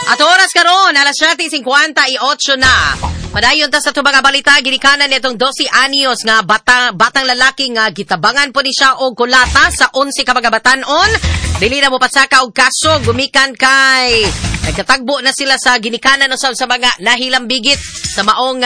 At oras karon, alas 7:58 na. Padayon ta sa atong mga balita, ginikanan nitong 12 anyos nga batang lalaki nga gitabangan po ni siya og kulata sa 11 ka mga batan-on. Dili na mo pasaka og kaso gumikan kay nagkatagbo na sila sa ginikanan usab sa mga nahilambigit sa maong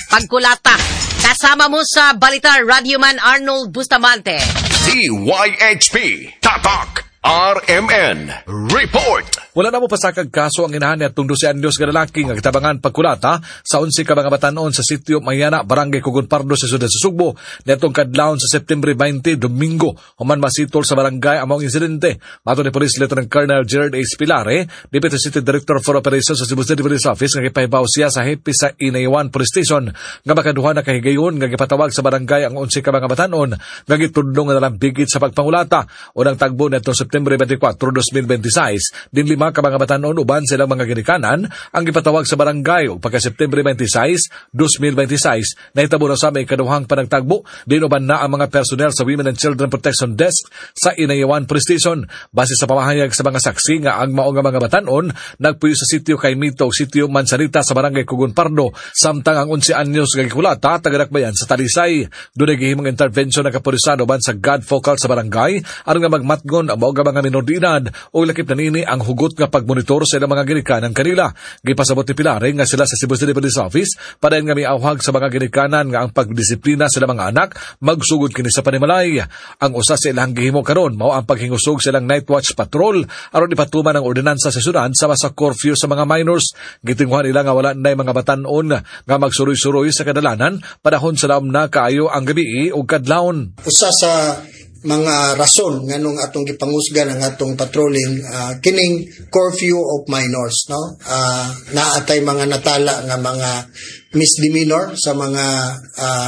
pagkulata. Kasama mo sa balita, Radyoman Arnold Bustamante. DYHP Tatak RMN Report. Wala na mo pasakag kaso ang inahan niya 12 anyos nga lalaki nga gitabangan pagkulata sa 11 ka mga batan-on sa sitio Mayana, Barangay Kugon Pardo sa siyudad sa Sugbo niadtong kadlawon sa September 20, Domingo, human masitol sa barangay ang maong insidente. Matod ni Police Lieutenant Colonel Gerard A. Spilare, Deputy City Director for Operations sa Cebu City Police Office, nga gipahibaw siya sa hepe sa Inayawan Police Station nga makaduha na kahigayon nga gipatawag sa barangay ang 11 ka mga batan-on nga gitudlo nga nalambigit sa pagpangulata. Unang tagbo niadtong September 24, 2026, din 5 ka mga batan-on uban silang mga ginikanan ang gipatawag sa barangay, ug pagka September 26, 2026 nahitabo na sa may ikaduhang panagtagbo, din uban na ang mga personnel sa Women and Children Protection Desk sa Inayawan Police Station. Base sa pamahayag sa mga saksi nga ang mao nga mga batan-on nagpuyo sa sitio Kaimito ug sitio Mansanita sa barangay Kugon Pardo, samtang ang 11 anyos nga gikulata taga-Dakbayan sa Talisay. Dunay gihimong intervention ng kapulisan uban sa God Focal sa barangay aron nga magmatngon ang mao nga mga minor de edad ug lakip na nini ang hugot nga pagmonitor sa ilang mga ginikanan kanila. Gipasabot ni Pilare nga sila sa Cebu City Police Office padayon nga miawhag sa mga ginikanan nga ang pagdisiplina sa ilang mga anak magsugod kini sa panimalay. Ang usa sa ilang gihimo karon mao ang paghingusog sa ilang night watch patrol aron ipatuman ang ordinansa sa syudad sama sa curfew sa mga minors. Gitinghuan nila nga wala nay mga batan-on nga magsuroy-suroy sa kadalanan panahon sa laom na kaayo ang gabi ug kadlawon. Usa sa mga rason nganong atong gipangusgan ang atong patrolling, kining curfew of minors, no? Naatay mga natala nga mga misdemeanor sa mga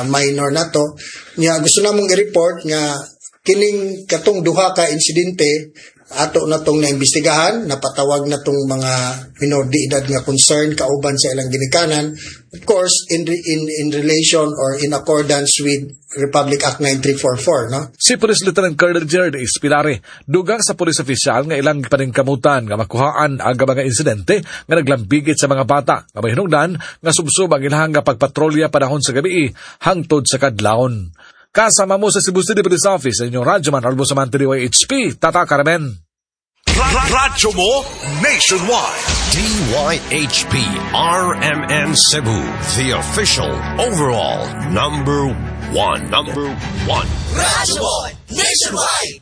minor nato. Nya gusto namong i-report nga kining katong duha ka insidente ato na tong naimbestigahan, napatawag na tong mga minor de edad nga concern kauban sa ilang ginikanan, of course in relation or in accordance with Republic Act 9344, no? Si Police Lieutenant Colonel Gerard Espilare dugang sa police official nga ilang paningkamutan nga makuhaan ang mga insidente nga naglambigit sa mga bata nga mahinungdan nga subsob ang ilang nga pagpatrolya panahon sa gabi hangtod sa kadlawon. Kasama mo sa Cebu City Police Office, sa inyong Radyoman Arnold Bustamante, DYHP, Tata Carmen. Radyo mo nationwide. DYHP RMN Cebu, the official overall number one. Number one. Radyo mo nationwide.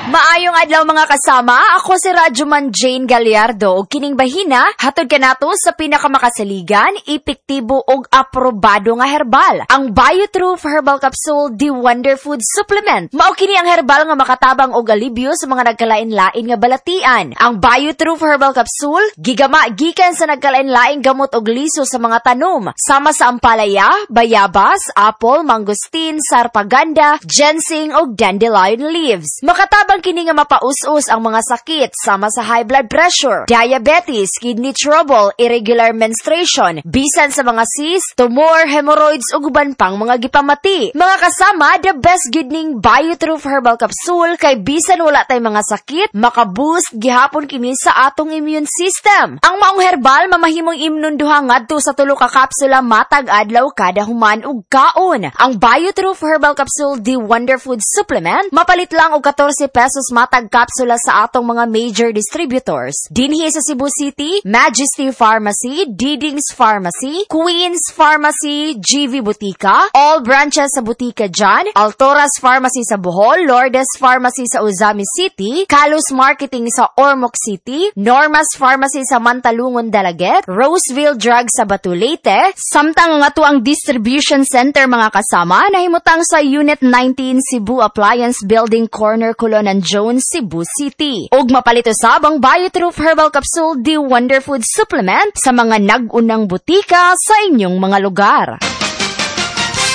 Maayong adlaw, mga kasama, ako si Radyoman Jane Gallardo ug kining bahina hatod kanato sa pinakamakasaligan, epektibo ug aprobado nga herbal, ang BioTrue Herbal Capsule, the Wonder Food Supplement. Mao kini ang herbal nga makatabang og alibyo sa mga nagkalain-lain nga balatian. Ang BioTrue Herbal Capsule gigama gikan sa nagkalain-laing gamot og liso sa mga tanom, sama sa ampalaya, bayabas, apple, mangosteen, sarpaganda, ginseng ug dandelion leaves. Makatabang kini nga mapaus-us ang mga sakit sama sa high blood pressure, diabetes, kidney trouble, irregular menstruation, bisan sa mga cyst, tumor, hemorrhoids ug uban pang mga gipamati. Mga kasama, the best gyud ning BioTrue Herbal Capsule kay bisan wala tay mga sakit, makaboost gihapon kini sa atong immune system. Ang maong herbal mamahimong imnon duha ngadto sa 3 ka kapsula matag adlaw kada human og kaon. Ang BioTrue Herbal Capsule, the Wonder Food Supplement, mapalit lang og 14 pesos matag kapsula sa atong mga major distributors. Dinhi sa Cebu City, Majesty Pharmacy, Diding's Pharmacy, Queen's Pharmacy, GV Butika, all branches sa Butika John, Altoras Pharmacy sa Bohol, Lourdes Pharmacy sa Ozamiz City, Carlos Marketing sa Ormoc City, Norma's Pharmacy sa Mantalungon, Dalaguete, Roseville Drug sa Batulete, samtang nga ato ang distribution center, mga kasama, nahimutang sa Unit 19 Cebu Appliance Building, corner Colon and Jones, Cebu City. Ug mapalit usab ang BioTrue Herbal Capsule, the Wonder Food Supplement sa mga nag-unang butika sa inyong mga lugar.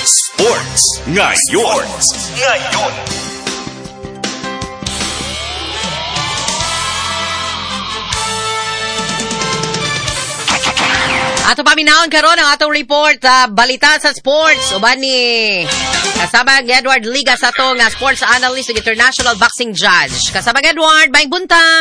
Sports Ngayon. Ngayon. Ato paminawon karon ang atong report balita sa sports uban ni kasama Edward Liga sa atong sports analyst ug international boxing judge. Kasama Edward, maayong buntag.